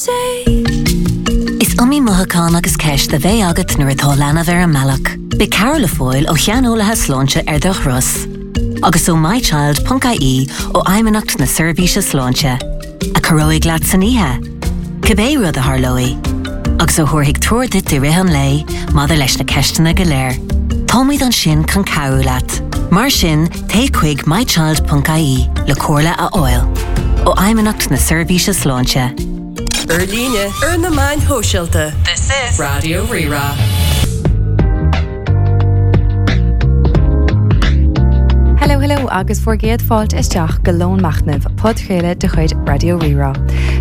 Is iomaí mothúchán agus ceist a bheidh agat nuair atá leanbh ar an mbealach. Beidh cabhair le fáil ó shaineolaithe sláinte ar do thuras. Agus ó mychild.ie ó Fheidhmeannacht na Seirbhíse Sláinte, a chabhróidh leat san oíche, cibé rud a tharlóidh, agus a thabharfaidh treoir duit i rith an lae maidir leis na ceisteanna go léir. Táimid ansin chun cabhrú leat. Mar sin, téigh chuig mychild.ie le comhairle a fháil ó Fheidhmeannacht na Seirbhíse Sláinte. Ar líne, ar na meáin shóisialta. This is Raidió Rí-Rá. Hello hello agus bhur gcéad fáilte isteach go Lón Machnaimh, podchraoladh de chuid Raidió Rí-Rá.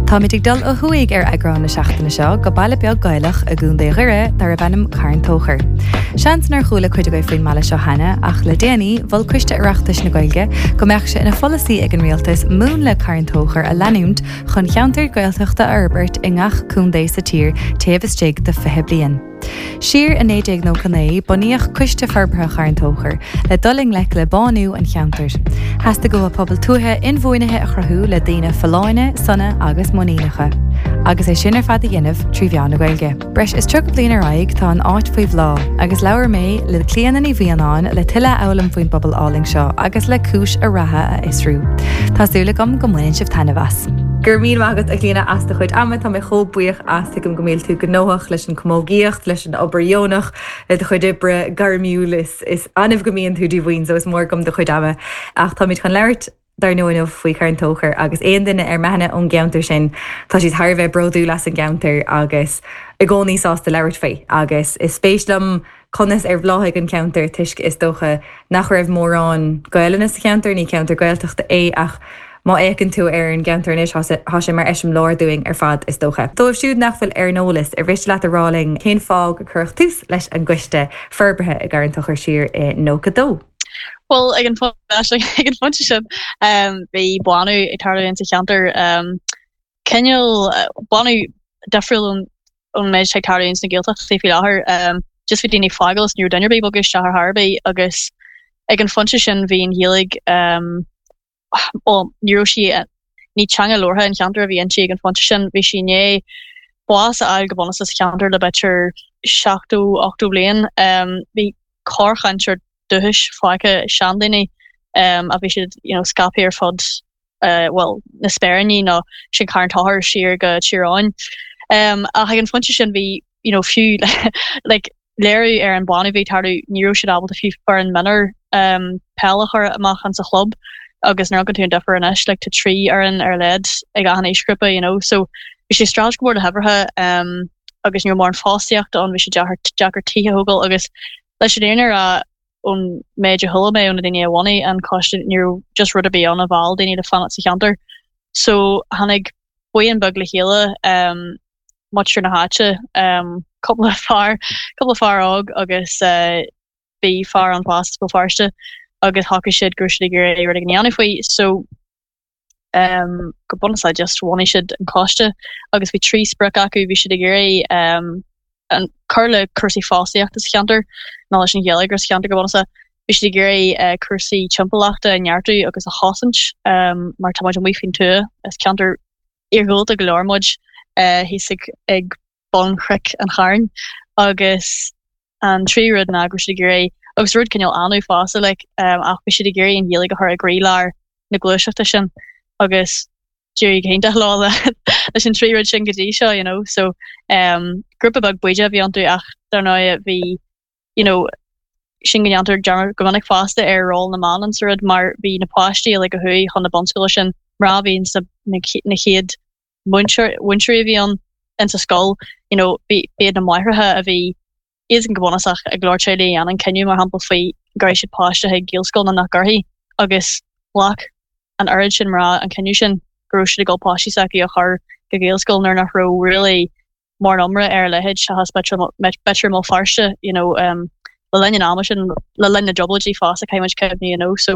Táimid ag dul ó thuaidh ar eagrán na seachtaine seo go baile beag Gaelach i gContae Dhoire darb ainm Carn Tóchair. Seans nár chuala cuid agaibh faoin mbaile seo cheana ach le déanaí mhol Coiste Oireachtais na Gaeilge go mbeadh sé ina pholasaí ag an rialtas múnla Carn Tóchair a leanúint chun ceantair Gaeltachta a fhorbairt i ngach contae sa tír taobh istigh de 20 bliain. Siar i 1999, bunaíodh Coiste Forbartha Charn Tóchair le dul i ngleic le bánú an cheantair. Theastaigh uathu pobal tuaithe inbhuanaithe a chruthú le daoine folláine, sona agus muiníneacha. Agus é sin ar fad a dhéanamh trí mheán na Gaeilge. Breis is 30 bliain ar aghaidh, tá an áit faoi bhláth, agus labhair mé le Clíona Ní Mhianáin le tuilleadh a fhoghlaim faoin bpobal álainn seo agus le cúis a ratha a fhiosrú. Tá súil agam go mbaineann sibh taitneamh as. Go raibh míle maith agat, a Chlíona, as do chuid ama. Tá mé chomh buíoch as. Tuigim go mbíonn tú gnóthach leis an chamógaíocht, leis an obair dheonach, le do chuid oibre gairmiúil. Is annamh go mbíonn tú díomhaoin, so is mór agam do chuid ama. Ach táimid chun labhairt dar ndóigh inniu faoi Charn Tóchair agus aon duine ar m'aithne ón gceantar sin, tá siad thar a bheith bródúil as an gceantar agus i gcónaí sásta labhairt faoi. Agus is spéis liom conas ar bhláthaigh an ceantar toisc is dócha nach raibh mórán Gaelainne sa cheantar, ní ceantar Gaeltachta é ach má fhéachann tú ar an gceantar anois tá sé mar eiseamláir dúinn ar fad is dócha. Dóibh siúd nach bhfuil ar an eolas, ar mhiste leat a rá linn cén fáth gur cuireadh tús leis an gcoiste forbartha i gCarn Tóchair siar i 92? Bhuel, ag an ag an phointe sin, bhí bánú ag tarlú insa cheantar, cineál bánú difriúil ón méid atá ag tarlú ins na Gaeltachtaí faoi láthair. Just bhí daoine ag fágáil is ní raibh duine ar bith ag bogadh isteach ar chor ar bith agus ag an phointe sin bhí an Ghaeilge, bhuel, ní raibh sí, ní teanga labhartha an cheantair a bhí inti ag an phointe sin, bhí sí i ndiaidh bás a fháil go bunúsach sa cheantar le b'fhéidir 70, 80 bliain. Bhí corrchainteoir dúchais fágtha, seandaoine, a bhí siad you know scaipthe ar fud bhuel, na Speiríní nó sin Carn Tóchair siar go Tír Eoghain. Ach ag an phointe sin bhí you know fiú like léiriú ar an bánú a bhí ag tarlú, ní raibh siad ábalta fiú foireann mionúr peil a chur amach insa chlub agus nuair a amharcann tú an difear anois like tá 3 fhoireann ar a laghad ag achan aoisghrúpa you know so bhí sé ag streachailt go mór le huimhreacha agus ní raibh mórán fostaíochta ann, bhí sé deacair deacair tithe a thógáil agus leis an fhírinne a rá ón méid a chuala mé ó na daoine a bhunaigh an coiste ní raibh just rud ar bith ann a mheall daoine le fanacht sa cheantar so tháinig buíon beag le chéile muintir na háite, cúpla fear, cúpla fear óg agus bhí fear ann fosta as Béal Feirste agus shocraigh siad go raibh siad ag iarraidh rud éigin a dhéanamh faoi so go bunúsach just bhunaigh siad an coiste agus bhí 3 sprioc acu, bhí siad ag iarraidh an cur le cúrsaí fostaíochta sa cheantar nó leis an gheilleagar sa cheantar go bunúsach. Bhí siad ag iarraidh cúrsaí timpeallachta a neartú agus a chosaint mar tá muid amuigh faoin tuath, is ceantar iargúlta go leor muid thíos ag bun Chnoic an Chairn agus an tríú rud ná go raibh siad ag iarraidh, agus rud cineál annamh fosta like, ach bhí siad ag iarraidh an Ghaeilge a chur i gcroílár na gluaiseachta sin agus d'éirigh go hiontach leo leis an trí rud sin go dtí seo, you know. So um, grúpa beag bídeach a bhí iontu ach dar ndóigh bhí you know, sin go ndéantar dearmad go minic fosta ar ról na mban insa rud mar bhí na páistí uilig a chuaigh chun na bunscoile sin, mná a bhí insa na chéad mhúinteoirí a bhí ann insa scoil, you know, b'iad na máithreacha a bhí iadsan go bunúsach i go leor teaghlaigh a dhéanann cinneadh mar shampla faoi gcuirfidh siad páiste chuig Gaelscoil nó nach gcuirfidh agus ghlac an oiread sin mná an cinneadh sin go raibh siad ag dul páistí s'acu a chur go Gaelscoil nuair nach raibh really mórán iomrá ar a leithéid seachas b'fhéidir i mBéal Feirste you know le linn an ama sin, le linn na dTrioblóidí fosta caithfidh muid cuimhniú you know so.